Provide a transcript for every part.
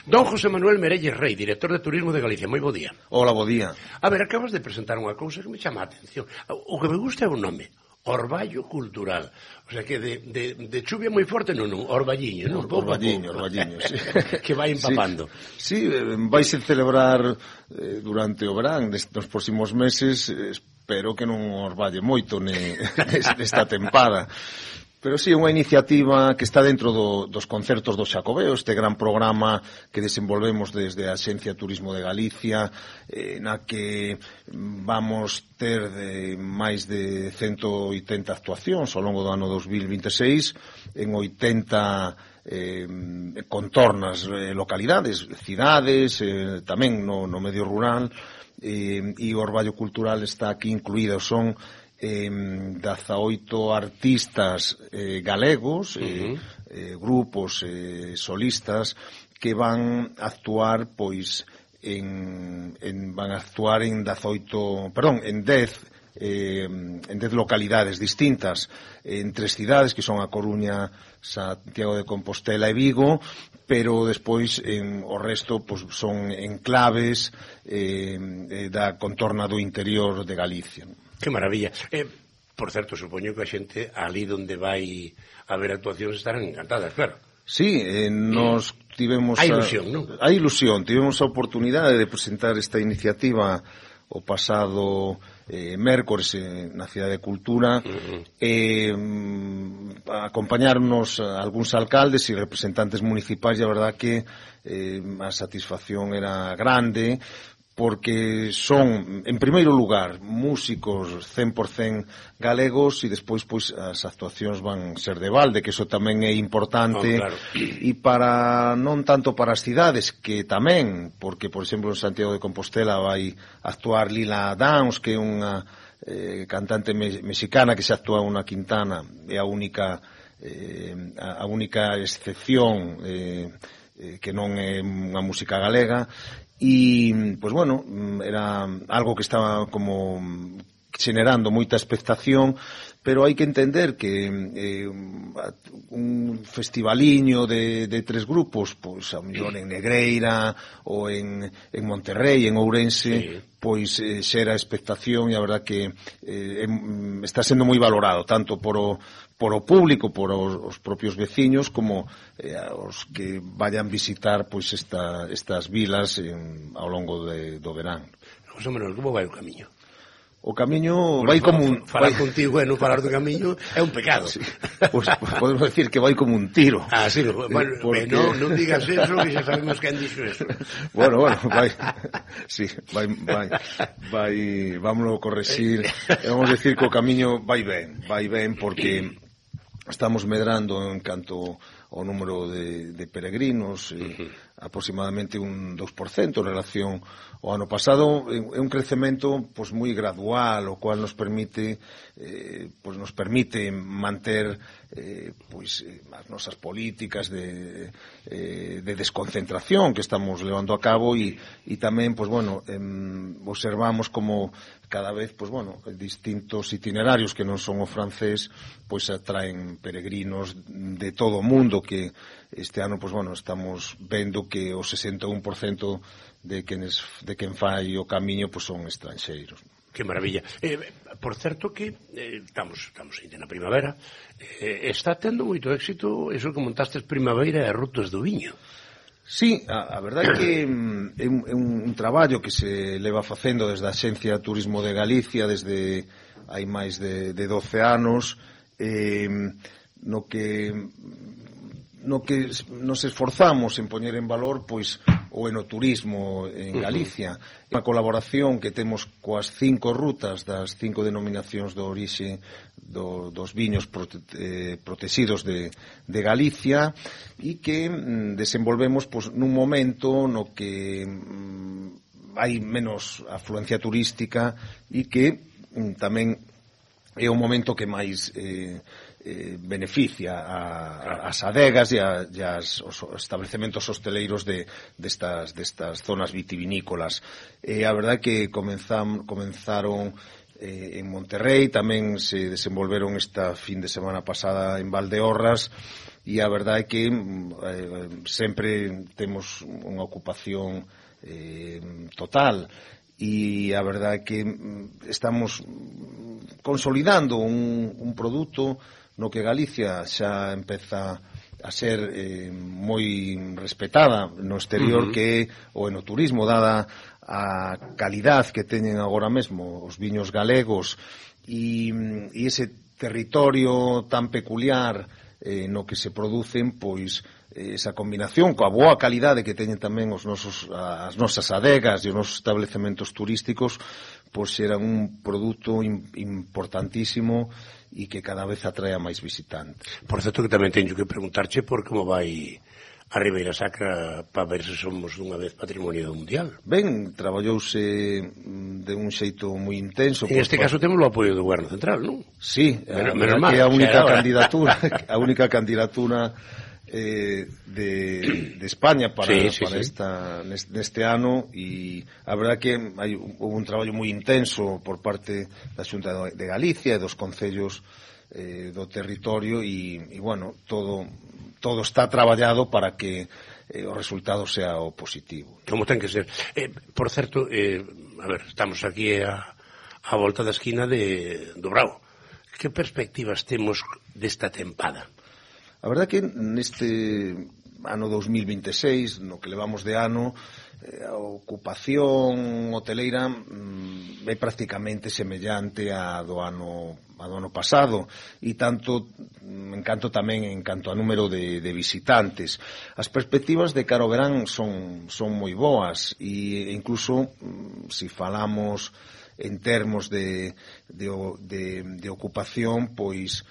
Don José Manuel Merelles Rei, director de Turismo de Galicia. Moi bo día. Hola, bo día. A ver, acabas de presentar unha cousa que me chama a atención. O que me gusta é o nome. Orballo cultural. O sea que de chuvia moi forte, non, orballiño, non? Orballiño, sí. Que vai empapando. Sí, vais a celebrar durante o verán nos próximos meses, espero que non orballe moito nesta tempada. Pero sí, unha iniciativa que está dentro dos concertos do Xacobeo, este gran programa que desenvolvemos desde a Axencia Turismo de Galicia, na que vamos ter máis de 180 actuacións ao longo do ano 2026 en 80 contornas localidades, cidades, tamén no medio rural, e o Orballo Cultural está aquí incluído. Son 18 artistas galegos, grupos solistas que van a actuar en 10 localidades distintas, en 3 cidades que son A Coruña, Santiago de Compostela e Vigo, pero despois o resto son enclaves da contorna do interior de Galicia. Que maravilla. Por certo, supoño que a xente ali donde vai haber actuacións estarán encantadas, claro. Sí, nos tivemos... Hai ilusión, non? Hai ilusión. Tivemos a oportunidade de presentar esta iniciativa o pasado mércores na Cidade de Cultura, acompañarnos algúns alcaldes e representantes municipais, e a verdad que a satisfacción era grande, porque son, en primeiro lugar, músicos 100% galegos, e despois as actuacións van ser de balde, que iso tamén é importante, claro. E non tanto para as cidades, que tamén, porque, por exemplo, en Santiago de Compostela vai actuar Lila Downs, que é unha cantante mexicana que se actúa unha quintana, é a única excepción que non é unha música galega. E, pois bueno, era algo que estaba como generando moita expectación, pero hai que entender que un festivaliño de 3 grupos, pois a mellor en Negreira ou en Monterrey, en Ourense, pois xera expectación, e a verdad que está sendo moi valorado, tanto por o público, por os propios veciños, como os que vayan visitar pois estas vilas ao longo do verán. José Manuel, como vai o camiño? O camiño vai como un... Falar contigo e non falar do camiño é un pecado. Sí. Pois podemos decir que vai como un tiro. Ah, sí, bueno, porque... non digas eso, que xa sabemos quen dixo eso. Bueno, vai... Sí, vai... Vámonos corregir. Vamos decir que o camiño vai ben, porque estamos medrando en canto ao número de peregrinos, aproximadamente un 2% en relación ao ano pasado. É un crecemento moi gradual, o cual nos permite manter as nosas políticas de desconcentración que estamos levando a cabo, e tamén observamos como cada vez distintos itinerarios que non son o francés atraen peregrinos de todo o mundo, que este ano estamos vendo que o 61% de quen fai o camiño son estranxeiros. Que maravilla. Por certo que estamos ainda na primavera, está tendo moito éxito eso que montastes Primavera e Rutas do Viño. Sí, a verdade é que é un traballo que se leva facendo desde a Axencia Turismo de Galicia desde hai máis de 12 anos, no que nos esforzamos en poñer en valor o enoturismo en Galicia. Unha colaboración que temos coas 5 rutas das 5 denominacións de orixe dos viños protegidos de Galicia, e que desenvolvemos nun momento no que hai menos afluencia turística, e que tamén é o momento que máis beneficia as adegas e os establecementos hosteleros destas zonas vitivinícolas. A verdade é que comenzaron en Monterrey, tamén se desenvolveron esta fin de semana pasada en Valdeorras, e a verdade é que sempre temos unha ocupación total, e a verdade é que estamos consolidando un produto no que Galicia xa empeza a ser moi respetada no exterior, que é o enoturismo, dada a calidad que teñen agora mesmo os viños galegos e ese territorio tan peculiar no que se producen, pois esa combinación coa boa calidade que teñen tamén as nosas adegas e os nosos establecementos turísticos, pois eran un produto importantísimo e que cada vez atrae a máis visitantes. Por certo que tamén teño que preguntarche por como vai a Ribeira Sacra para ver se somos dunha vez patrimonio mundial. Ben, traballouse de un xeito moi intenso. En este caso temos o apoio do Goberno Central, non? Sí, menos mal, que é a única candidatura de España para neste ano, e a verdade que houve un traballo moi intenso por parte da Xunta de Galicia e dos concellos do territorio, e bueno, todo está traballado para que o resultado sea o positivo. Como ten que ser. Por certo, a ver, estamos aquí a volta da esquina do Brao. Que perspectivas temos desta tempada? A verdade que neste ano 2026, no que levamos de ano, a ocupación hoteleira é prácticamente semellante a do ano pasado, e en canto a número de visitantes. As perspectivas de cara ao verán son moi boas, e incluso se falamos en termos de ocupación, pois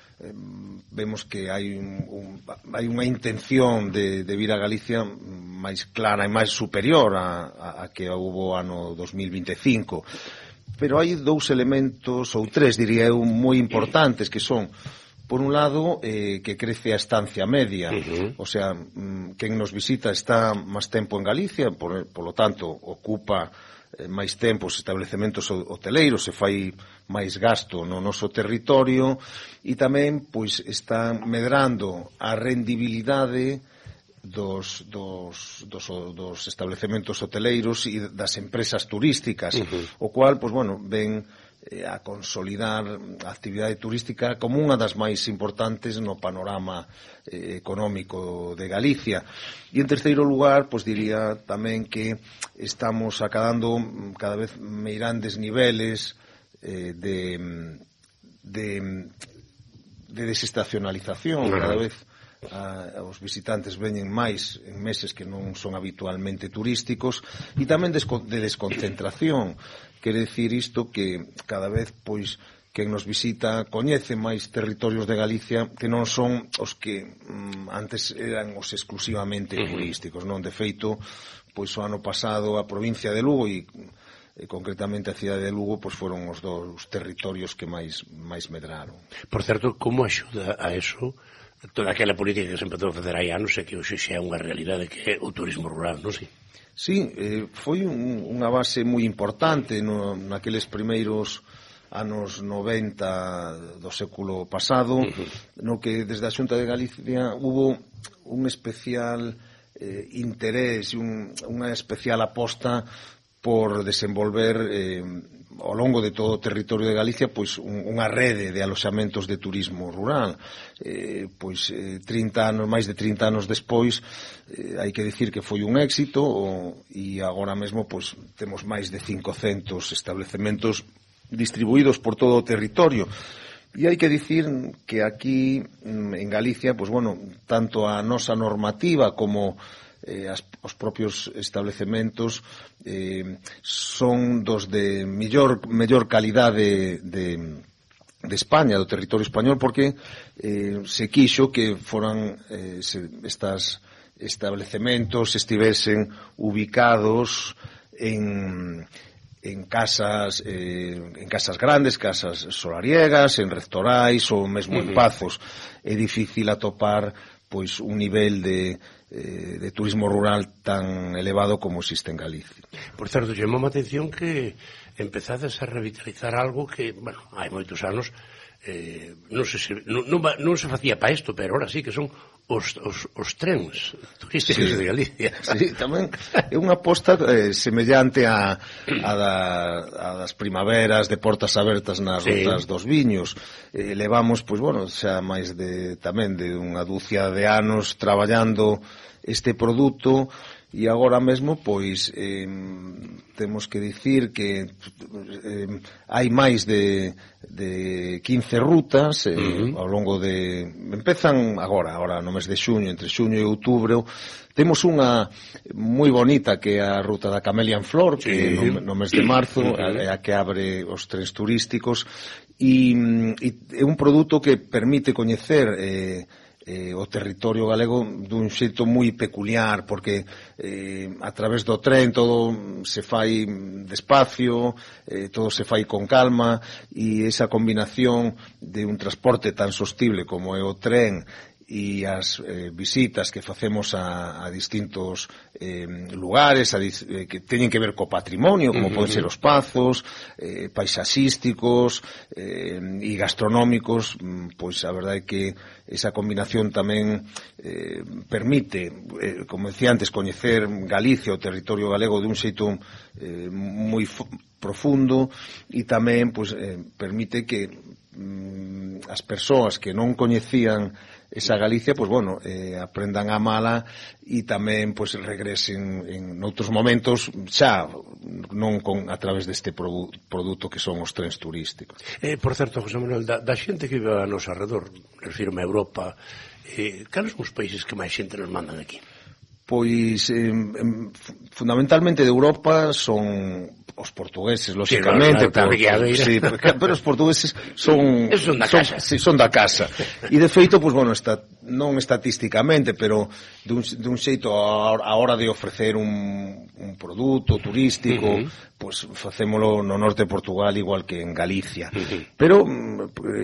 vemos que hai unha intención de vir a Galicia máis clara e máis superior a que houve ano 2025. Pero hai dous elementos, ou tres, diría eu, moi importantes, que son, por un lado, que crece a estancia media, o sea, quen nos visita está máis tempo en Galicia, por lo tanto, ocupa máis tempo os establecementos hoteleiros, se fai máis gasto no noso territorio, e tamén, pois, está medrando a rendibilidade dos establecementos hoteleiros e das empresas turísticas, o cual, pois, bueno, ven a consolidar a actividade turística como unha das máis importantes no panorama económico de Galicia. E en terceiro lugar, pois diría tamén que estamos acadando cada vez meirandes niveles de desestacionalización. Cada vez os visitantes veñen máis en meses que non son habitualmente turísticos, e tamén de desconcentración. Quere dicir isto que cada vez, pois, quen nos visita coñece máis territorios de Galicia que non son os que antes eran os exclusivamente turísticos, non? De feito, pois o ano pasado a provincia de Lugo e concretamente a cidade de Lugo, pois foron os dous territorios que máis medraron. Por certo, como axuda a eso toda aquela política que se empezou a facer hai anos, e que hoxe xa é unha realidade, que é o turismo rural, non sei? Sí, foi unha base moi importante naqueles primeiros anos 90 do século pasado, no que desde a Xunta de Galicia hubo un especial interés e unha especial aposta por desenvolver ao longo de todo o territorio de Galicia, pois unha rede de aloxamentos de turismo rural. Pois máis de 30 anos despois, hai que dicir que foi un éxito, e agora mesmo pois temos máis de 500 establecementos distribuídos por todo o territorio. E hai que dicir que aquí en Galicia, pois bueno, tanto a nosa normativa como os propios establecementos son dos de mellor calidade de España, do territorio español, porque se quixo que foran estas establecementos estivesen ubicados en casas grandes, casas solariegas, en rectorais ou mesmo en pazos. É difícil atopar pois un nivel de turismo rural tan elevado como existe en Galicia. Por certo, chamou a atención que empezades a revitalizar algo que, bueno, hai moitos anos non se facía para isto, pero ahora sí que son os trens turísticos de Galicia. Sí, tamén é unha aposta semellante a das primaveras de portas abertas nas rutas dos viños. Levamos, pois, bueno, xa máis tamén de unha dúcia de anos traballando este produto. E agora mesmo, pois, temos que dicir que hai máis de 15 rutas ao longo de... Empezan agora no mes de xuño, entre xuño e outubro. Temos unha moi bonita que é a ruta da Camelia en Flor, que no mes de marzo é a que abre os trens turísticos, e é un produto que permite coñecer o territorio galego dun xeito moi peculiar, porque a través do tren todo se fai despacio, todo se fai con calma, e esa combinación de un transporte tan sostible como é o tren e as visitas que facemos a distintos lugares que teñen que ver co patrimonio, como poden ser os pazos, paisaxísticos e gastronómicos, pois a verdade é que esa combinación tamén permite, como decía antes, coñecer Galicia, o territorio galego, de un xeito moi profundo, e tamén pois permite que as persoas que non coñecían esa Galicia, pois bueno, aprendan a amala e tamén pois regresen en outros momentos, xa non a través deste produto que son os trens turísticos. Por certo, José Manuel, da xente que vive a noso arredor, refirme a Europa, cales son os países que máis xente nos mandan aquí? Pois fundamentalmente de Europa son os portugueses, lógicamente, sí, pero os portugueses son da casa. E de feito, pois bueno, non estatísticamente, pero dun xeito a hora de ofrecer un produto turístico, pois facémolo no norte de Portugal igual que en Galicia. Pero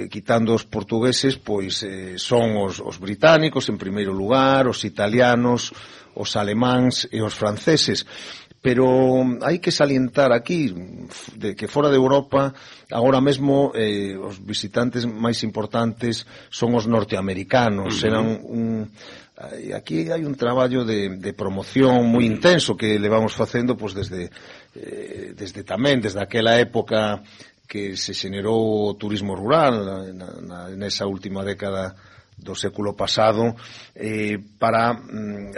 quitando os portugueses, pois son os británicos en primeiro lugar, os italianos, os alemáns e os franceses. Pero hai que salientar aquí de que fora de Europa agora mesmo os visitantes máis importantes son os norteamericanos. Aquí hai un traballo de promoción moi intenso que levamos facendo pois desde aquela época que se xenerou o turismo rural nesa última década do século pasado, para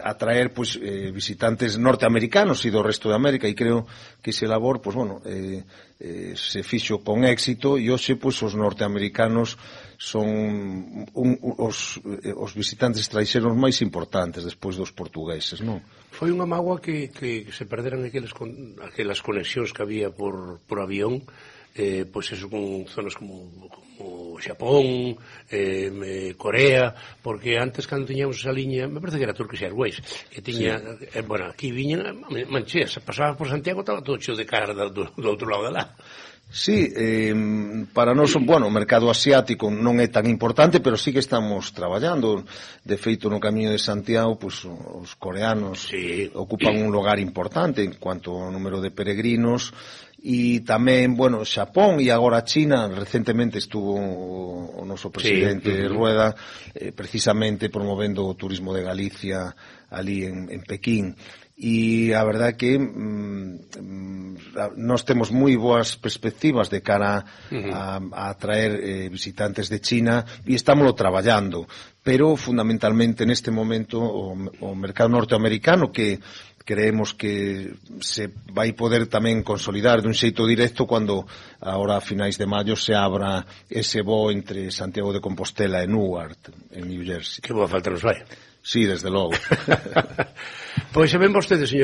atraer pois visitantes norteamericanos e do resto de América, e creo que ese labor pois bueno, se fixo con éxito, e hoxe pois os norteamericanos son os visitantes estranxeiros máis importantes despois dos portugueses, non? Foi unha mágoa que se perderan aquelas conexións que había por avión, pois eso, con zonas como Xapón, Corea, porque antes cando tiñamos esa liña, me parece que era Turkish Airways, que tiña, bueno, aquí viñan mancheas, pasaba por Santiago, estaba todo cheo de cara do outro lado de lá. Sí, para nós, bueno, o mercado asiático non é tan importante, pero sí que estamos traballando. De feito, no Camiño de Santiago, pues, os coreanos ocupan un lugar importante en cuanto ao número de peregrinos, e tamén, bueno, Xapón e agora China. Recentemente estuvo o noso presidente Rueda precisamente promovendo o turismo de Galicia ali en Pequín. E a verdade que nós temos moi boas perspectivas de cara a atraer visitantes de China, e estámoslo traballando, pero fundamentalmente neste momento o mercado norteamericano, que creemos que se vai poder tamén consolidar dun xeito directo cando agora a finais de maio se abra ese voo entre Santiago de Compostela e Newark, en New Jersey. Que boa falta nos vai. Sí, desde logo. Pois se ven vostedes, señores